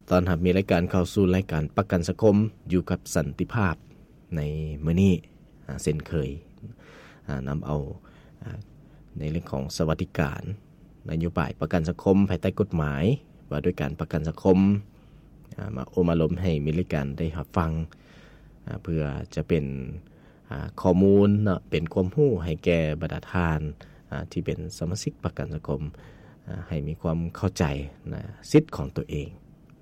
ຕ້ອນຮັບມີລາຍການເຂົ້າສູ່ລາຍການປະກັນສັງຄົມຢູ່ກັບສັນຕິພາບໃນມື້ນີ້ ອາ ເຊັ່ນເຄີຍ ອາ ນຳເອົາ ອາ ໃນເລື່ອງຂອງສະຫວັດດີການ ນະໂຍບາຍປະກັນສັງຄົມພາຍໃຕ້ກົດໝາຍວ່າດ້ວຍການປະກັນສັງຄົມ ອາ ມາໂອ້ມາລົມໃຫ້ມີລາຍການໄດ້ຮັບຟັງ ອາ ເພື່ອຈະເປັນ ອາ ຂໍ້ມູນເນາະ ເປັນຄວາມຮູ້ໃຫ້ແກ່ບັນດາທ່ານ ອາ ທີ່ເປັນສະມາຊິກປະກັນສັງຄົມ ອາ ໃຫ້ມີຄວາມເຂົ້າໃຈນະ ສິດຂອງຕົວເອງ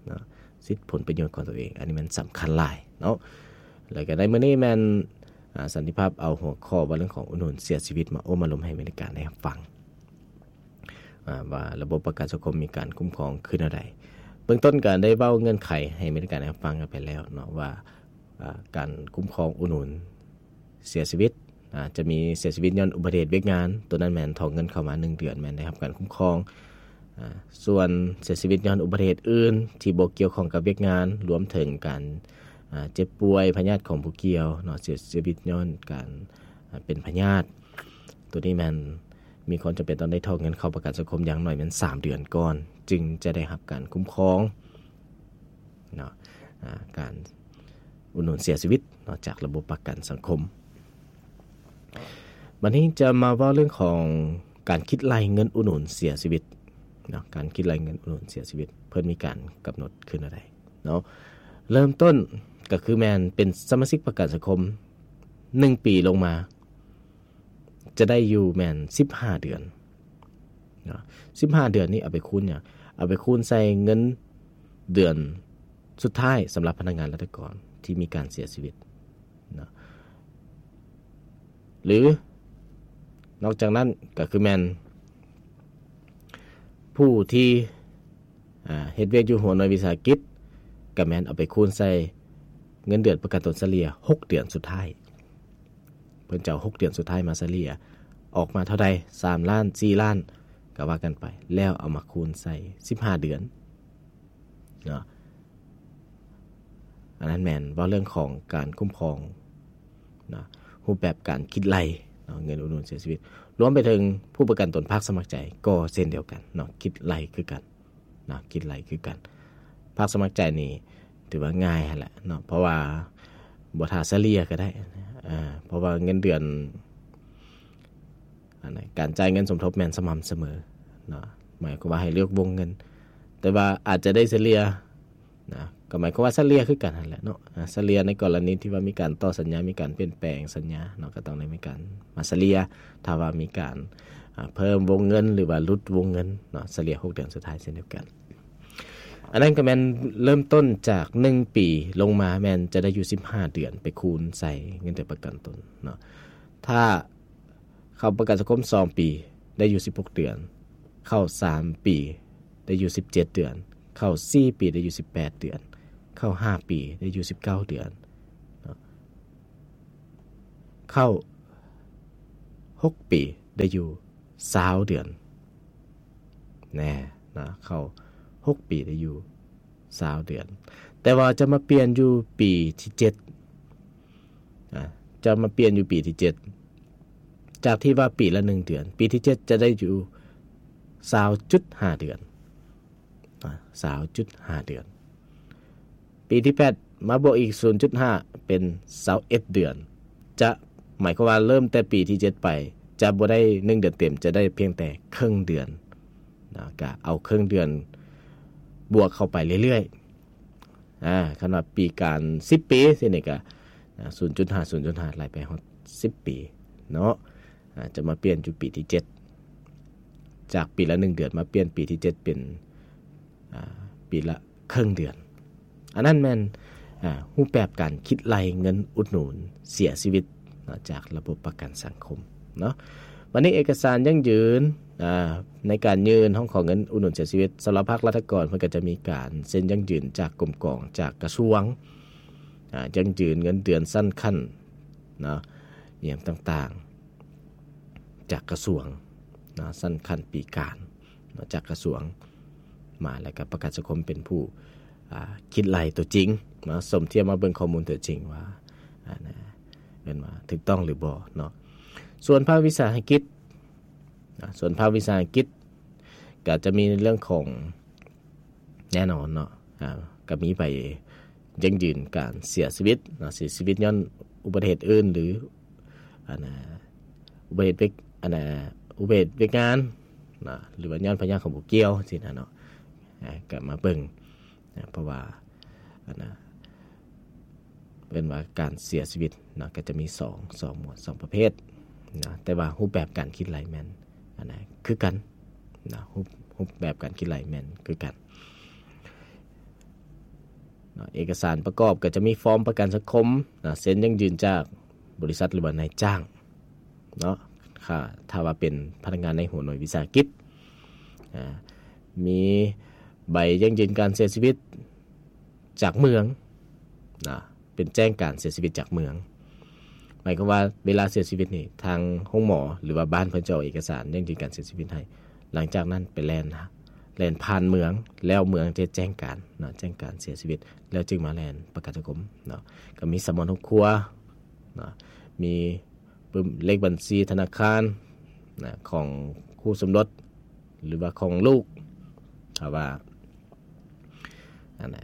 ເນາະ ສິດຜົນປະໂຫຍດຂອງຕົວເອງ ອັນນີ້ແມ່ນສຳຄັນຫຼາຍເນາະ. ແລ້ວກໍໃນມື້ນີ້ແມ່ນ ອາ ສັນຕິພາບເອົາຫົວຂໍ້ວ່າເລື່ອງຂອງອຸດໜູນເສຍຊີວິດມາໂອ້ມາລົມໃຫ້ມີລາຍການໄດ້ຮັບຟັງ ອາ ວ່າລະບົບປະກັນສັງຄົມມີການຄຸ້ມຄອງຄືແນວໃດ. ເບື້ອງຕົ້ນກໍໄດ້ເວົ້າເງື່ອນໄຂໃຫ້ມີລາຍການໄດ້ຮັບຟັງກັນໄປແລ້ວເນາະ ວ່າ ອາ ການຄຸ້ມຄອງອຸດໜູນເສຍຊີວິດ ອາ ຈະມີເສຍຊີວິດຍ້ອນອຸບັດຕິເຫດວຽກງານ ໂຕນັ້ນແມ່ນຖອນເງິນເຂົ້າມາໜຶ່ງເດືອນ ແມ່ນໄດ້ຮັບການຄຸ້ມຄອງ. ອາ ສ່ວນເສຍຊີວິດຍ້ອນອຸບັດຕິເຫດອື່ນທີ່ບໍ່ກ່ຽວຂ້ອງກັບວຽກງານ ລວມເຖິງການ ອາ ເຈັບປ່ວຍ ພະຍາດຂອງຜູ້ກ່ຽວເນາະ ເສຍຊີວິດຍ້ອນການ ອາ ເປັນພະຍາດ ໂຕນີ້ແມ່ນມີຄວາມຈຳເປັນຕ້ອງໄດ້ຖອນເງິນເຂົ້າປະກັນສັງຄົມຢ່າງໜ້ອຍແມ່ນສາມເດືອນກ່ອນ ຈຶ່ງຈະໄດ້ຮັບການຄຸ້ມຄອງເນາະ ອາ ການອຸດໜູນເສຍຊີວິດເນາະ ຈາກລະບົບປະກັນສັງຄົມ. ບັດນີ້ຈະມາເວົ້າເລື່ອງຂອງການຄິດໄລ່ເງິນອຸດໜູນເສຍຊີວິດເນາະ ການຄິດໄລ່ເງິນອຸດໜູນເສຍຊີວິດ ເພິ່ນມີການກຳນົດຄືແນວໃດເນາະ. ເລີ່ມຕົ້ນກໍຄືແມ່ນເປັນສະມາຊິກປະກັນສັງຄົມໜຶ່ງປີລົງມາ ຈະໄດ້ຢູ່ແມ່ນສິບຫ້າເດືອນເນາະ. ສິບຫ້າເດືອນນີ້ເອົາໄປຄູນຫຍັງ? ເອົາໄປຄູນໃສ່ເງິນເດືອນສຸດທ້າຍສຳລັບພະນັກງານລັດຖະກອນທີ່ມີການເສຍຊີວິດເນາະ ຫຼືນອກຈາກນັ້ນກໍຄືແມ່ນຜູ້ທີ່ ອາ ເຮັດວຽກຢູ່ຫົວໜ່ວຍວິສາຫະກິດ ກໍແມ່ນເອົາໄປຄູນໃສ່ເງິນເດືອນປະກັນຕົນສະເລ່ຍຫົກເດືອນສຸດທ້າຍ. ເພິ່ນຈະເອົາຫົກເດືອນສຸດທ້າຍມາສະເລ່ຍ ອອກມາເທົ່າໃດ ສາມລ້ານ ສີ່ລ້ານ ກໍວ່າກັນໄປ ແລ້ວເອົາມາຄູນໃສ່ສິບຫ້າເດືອນເນາະ. ອັນນັ້ນແມ່ນເວົ້າເລື່ອງຂອງການຄຸ້ມຄອງເນາະ ຮູບແບບການຄິດໄລ່ເນາະ ເງິນອຸດໜູນເສຍຊີວິດ ລວມໄປເຖິງຜູ້ປະກັນຕົນພາກສະໝັກໃຈກໍເຊັ່ນດຽວກັນເນາະ ຄິດໄລ່ຄືກັນ ນະ ຄິດໄລ່ຄືກັນ. ພາກສະໝັກໃຈນີ້ຖືວ່າງ່າຍຫັ້ນແຫຼະເນາະ ເພາະວ່າບໍ່ຖ້າສະເລ່ຍກໍໄດ້ ເພາະວ່າເງິນເດືອນ ອັນນັ້ນ ການຈ່າຍເງິນສົມທົບແມ່ນສະໝ່ຳສະເໝີເນາະ ໝາຍຄວາມວ່າໃຫ້ເລືອກວົງເງິນ ແຕ່ວ່າອາດຈະໄດ້ສະເລ່ຍນະ ກໍໝາຍຄວາມວ່າສະເລ່ຍຄືກັນຫັ້ນແຫຼະເນາະ ສະເລ່ຍໃນກໍລະນີທີ່ວ່າມີການຕໍ່ສັນຍາ ມີການປ່ຽນແປງສັນຍາເນາະ ກໍຕ້ອງໄດ້ມີການມາສະເລ່ຍ ຖ້າວ່າມີການ ອາ ເພີ່ມວົງເງິນ ຫຼືວ່າຫຼຸດວົງເງິນເນາະ ສະເລ່ຍຫົກເດືອນສຸດທ້າຍເຊັ່ນດຽວກັນ. ອັນນັ້ນກໍແມ່ນເລີ່ມຕົ້ນຈາກໜຶ່ງປີລົງມາ ແມ່ນຈະໄດ້ຢູ່ສິບຫ້າເດືອນ ໄປຄູນໃສ່ເງິນເດືອນປະກັນຕົນເນາະ. ຖ້າເຂົ້າປະກັນສັງຄົມສອງປີ ໄດ້ຢູ່ສິບຫົກເດືອນ, ເຂົ້າສາມປີ ໄດ້ຢູ່ສິບເຈັດເດືອນ, ເຂົ້າສີ່ປີ ໄດ້ຢູ່ສິບແປດເດືອນ, ເຂົ້າຫ້າປີ ໄດ້ຢູ່ສິບເກົ້າເດືອນເນາະ. ເຂົ້າຫົກປີ ໄດ້ຢູ່ຊາວເດືອນ ແນ່ນະ ເຂົ້າຫົກປີ ໄດ້ຢູ່ຊາວເດືອນ. ແຕ່ວ່າຈະມາປ່ຽນຢູ່ປີທີເຈັດ ອາ ຈະມາປ່ຽນຢູ່ປີທີເຈັດ ຈາກທີ່ວ່າປີລະໜຶ່ງເດືອນ ປີທີເຈັດຈະໄດ້ຢູ່ຊາວຈຸດຫ້າເດືອນ ອາ ຊາວຈຸດຫ້າເດືອນ. ປີທີແປດມາບວກອີກສູນຈຸດຫ້າ ເປັນຊາວເອັດເດືອນ. ຈະໝາຍຄວາມວ່າເລີ່ມແຕ່ປີທີເຈັດໄປ ຈະບໍ່ໄດ້ໜຶ່ງເດືອນເຕັມ ຈະໄດ້ພຽງແຕ່ເຄິ່ງເດືອນນະ ກະເອົາເຄິ່ງເດືອນບວກເຂົ້າໄປເລື້ອຍໆ. ອາ ຄັນວ່າປີການສິບປີຊີ້ນີ້ກະ ອາ ສູນຈຸດຫ້າ ສູນຈຸດຫ້າ ໄລ່ໄປຮອດສິບປີເນາະ. ອາ ຈະມາປ່ຽນຢູ່ປີທີເຈັດ ຈາກປີລະໜຶ່ງເດືອນ ມາປ່ຽນປີທີເຈັດເປັນ ອາ ປີລະເຄິ່ງເດືອນ. ອັນນັ້ນແມ່ນ ອາ ຮູບແບບການຄິດໄລ່ເງິນອຸດໜູນເສຍຊີວິດເນາະ ຈາກລະບົບປະກັນສັງຄົມເນາະ. ບັດນີ້ເອກະສານຢັ້ງຢືນ ອາ ໃນການຍື່ນຮ້ອງຂໍເງິນອຸດໜູນເສຍຊີວິດ ສຳລັບພາກລັດຖະກອນ ເພິ່ນກໍຈະມີການເຊັນຢັ້ງຢືນຈາກກົມກອງ ຈາກກະຊວງ ອາ ຢັ້ງຢືນເງິນເດືອນຊັ້ນຂັ້ນເນາະ ອີ່ຫຍັງຕ່າງໆ ຈາກກະຊວງເນາະ ຊັ້ນຂັ້ນປີການເນາະ ຈາກກະຊວງມາ ແລ້ວກໍປະກັນສັງຄົມເປັນຜູ້ ອາ ຄິດໄລ່ຕົວຈິງເນາະ ສົມທຽບມາເບິ່ງຂໍ້ມູນຕົວຈິງວ່າ ອາ ນະ ເອີ້ນວ່າຖືກຕ້ອງຫຼືບໍ່ເນາະ. ສ່ວນພາກວິສາຫະກິດ ນະ ສ່ວນພາກວິສາຫະກິດກໍຈະມີເລື່ອງຂອງ ແນ່ນອນເນາະ ອ່າ ກໍມີໃບຢັ້ງຢືນການເສຍຊີວິດເນາະ ເສຍຊີວິດຍ້ອນອຸບັດຕິເຫດອື່ນ ຫຼື ອັນນ່າ ອຸບັດຕິເຫດວຽກ ອັນນ່າ ອຸບັດຕິເຫດວຽກງານເນາະ ຫຼືວ່າຍ້ອນພະຍາດຂອງຜູ້ກ່ຽວຊີ້ນະເນາະ ອ່າ ກໍມາເບິ່ງນະ ເພາະວ່າ ອັນນ່າ ເອີ້ນວ່າການເສຍຊີວິດເນາະ ກໍຈະມີສອງ ສອງໝວດ ສອງປະເພດເນາະ ແຕ່ວ່າຮູບແບບການຄິດໄລ່ແມ່ນ ອັນນ່າ ຄືກັນເນາະ ຮູບ ຮູບແບບການຄິດໄລ່ແມ່ນຄືກັນເນາະ. ເອກະສານປະກອບກໍຈະມີຟອມປະກັນສັງຄົມເນາະ ເຊັນຢັ້ງຢືນຈາກບໍລິສັດ ຫຼືວ່ານາຍຈ້າງເນາະ ຖ້າ ຖ້າວ່າເປັນພະນັກງານໃນຫົວໜ່ວຍວິສາຫະກິດ ອ່າ ມີໃບຢັ້ງຢືນການເສຍຊີວິດຈາກເມືອງນະ ເປັນແຈ້ງການເສຍຊີວິດຈາກເມືອງ ໝາຍຄວາມວ່າເວລາເສຍຊີວິດນີ້ ທາງໂຮງໝໍ ຫຼືວ່າບ້ານເພິ່ນຈະອອກເອກະສານຢັ້ງຢືນການເສຍຊີວິດໃຫ້ ຫຼັງຈາກນັ້ນໄປແລ່ນ ແລ່ນຜ່ານເມືອງ ແລ້ວເມືອງຈະແຈ້ງການເນາະ ແຈ້ງການເສຍຊີວິດ ແລ້ວຈຶ່ງມາແລ່ນປະກັນສັງຄົມເນາະ. ກໍມີສຳມະນາຄົວເນາະ ມີ ປຶ້ມ ເລກບັນຊີທະນາຄານນະ ຂອງຄູ່ສົມລົດ ຫຼືວ່າຂອງລູກ ຖ້າວ່າ ອັນນ່າ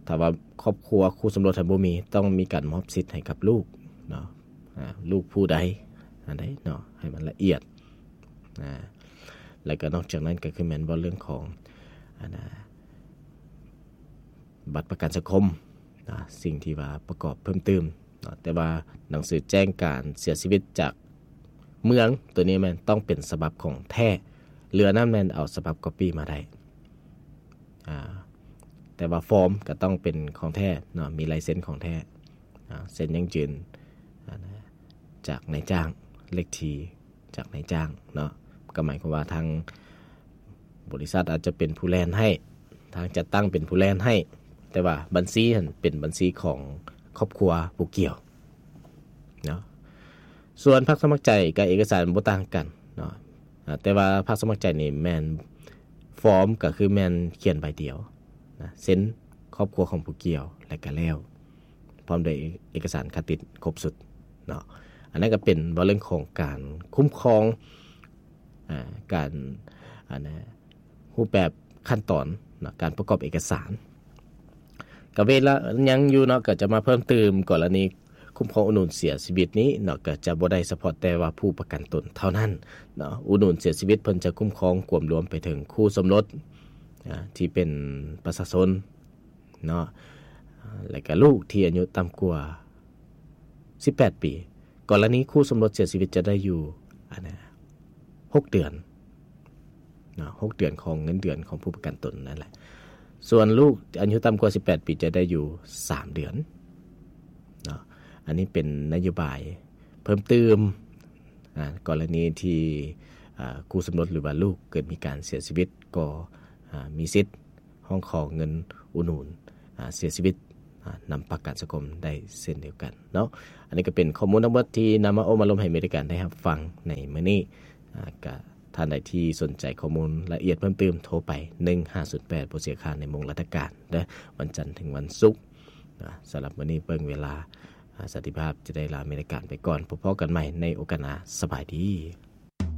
ຖ້າວ່າຄອບຄົວຄູ່ສົມລົດຫັ້ນບໍ່ມີ ຕ້ອງມີການມອບສິດໃຫ້ກັບລູກເນາະ ອ່າ ລູກຜູ້ໃດ ອັນໃດເນາະ ໃຫ້ມັນລະອຽດ ອ່າ ແລ້ວກໍນອກຈາກນັ້ນກໍຄືແມ່ນເວົ້າເລື່ອງຂອງ ອັນນ່າ ບັດປະກັນສັງຄົມນະ ສິ່ງທີ່ວ່າປະກອບເພີ່ມຕື່ມເນາະ ແຕ່ວ່າໜັງສືແຈ້ງການເສຍຊີວິດຈາກເມືອງ ໂຕນີ້ແມ່ນຕ້ອງເປັນສະບັບຂອງແທ້ ເຫຼືອນັ້ນແມ່ນເອົາສະບັບກັອບປີ້ມາໄດ້ ອ່າ ແຕ່ວ່າຟອມກໍຕ້ອງເປັນຂອງແທ້ເນາະ ມີລາຍເຊັນຂອງແທ້ ອ່າ ເຊັນຢັ້ງຢືນ ອ່າ ຈາກນາຍຈ້າງ ເລກທີ ຈາກນາຍຈ້າງເນາະ ກໍໝາຍຄວາມວ່າທາງບໍລິສັດອາດຈະເປັນຜູ້ແລ່ນໃຫ້ ທາງຈັດຕັ້ງເປັນຜູ້ແລ່ນໃຫ້ ແຕ່ວ່າບັນຊີຫັ້ນເປັນບັນຊີຂອງຄອບຄົວຜູ້ກ່ຽວເນາະ. ສ່ວນພາກສະໝັກໃຈກັບເອກະສານບໍ່ຕ່າງກັນເນາະ ອ່າ ແຕ່ວ່າພາກສະໝັກໃຈນີ້ແມ່ນ ຟອມກໍຄືແມ່ນຂຽນໃບດຽວນະ ເຊັນຄອບຄົວຂອງຜູ້ກ່ຽວ ແລ້ວກໍແລ້ວ ພ້ອມດ້ວຍເອກະສານຄະຕິດຄົບຊຸດເນາະ. ອັນນັ້ນກໍເປັນເວົ້າເລື່ອງຂອງການຄຸ້ມຄອງ ອ່າ ການ ອັນນ່າ ຮູບແບບຂັ້ນຕອນເນາະ ການປະກອບເອກະສານ ກໍເວລາຍັງຢູ່ເນາະ ກໍຈະມາເພີ່ມຕື່ມກໍລະນີຄຸ້ມຄອງອຸດໜູນເສຍຊີວິດນີ້ເນາະ ກໍຈະບໍ່ໄດ້ສະເພາະແຕ່ວ່າຜູ້ປະກັນຕົນເທົ່ານັ້ນເນາະ. ອຸດໜູນເສຍຊີວິດເພິ່ນຈະຄຸ້ມຄອງກວມລວມໄປເຖິງຄູ່ສົມລົດ ອ່າ ທີ່ເປັນປະຊາຊົນ ເນາະ ແລະກະລູກທີ່ອາຍຸຕ່ຳກວ່າສິບແປດປີ. ກໍລະນີຄູ່ສົມລົດເສຍຊີວິດຈະໄດ້ຢູ່ ອັນນ່າ ຫົກເດືອນເນາະ ຫົກເດືອນຂອງເງິນເດືອນຂອງຜູ້ປະກັນຕົນນັ້ນແຫຼະ. ສ່ວນລູກອາຍຸຕ່ຳກວ່າສິບແປດປີຈະໄດ້ຢູ່ສາມເດືອນເນາະ. ອັນນີ້ເປັນນະໂຍບາຍເພີ່ມຕື່ມ ອ່າ ກໍລະນີທີ່ ອ່າ ຄູ່ສົມລົດ ຫຼືວ່າລູກເກີດມີການເສຍຊີວິດ ກໍ ອ່າ ມີສິດ ຮ້ອງຂໍເງິນອຸດໜູນ ອ່າ ເສຍຊີວິດ ອ່າ ນຳປະກັນສັງຄົມໄດ້ເຊັ່ນດຽວກັນເນາະ. ອັນນີ້ກໍເປັນຂໍ້ມູນທັງໝົດທີ່ນຳມາໂອ້ມາລົມໃຫ້ເມລິກາໄດ້ຮັບຟັງໃນມື້ນີ້. ອ່າ ກະທ່ານໃດທີ່ສົນໃຈຂໍ້ມູນລະອຽດເພີ່ມຕື່ມ ໂທໄປໜຶ່ງຫ້າສູນແປດ ບໍ່ເສຍຄ່າໃນໂມງລັດຖະການເດີ ວັນຈັນເຖິງວັນສຸກ. ອ່າ ສຳລັບມື້ນີ້ເບິ່ງເວລາ ອ່າ ສັນຕິພາບຈະໄດ້ລາເມລິກາໄປກ່ອນ. ພົບພໍ້ກັນໃໝ່ໃນໂອກາດໜ້າ. ສະບາຍດີ.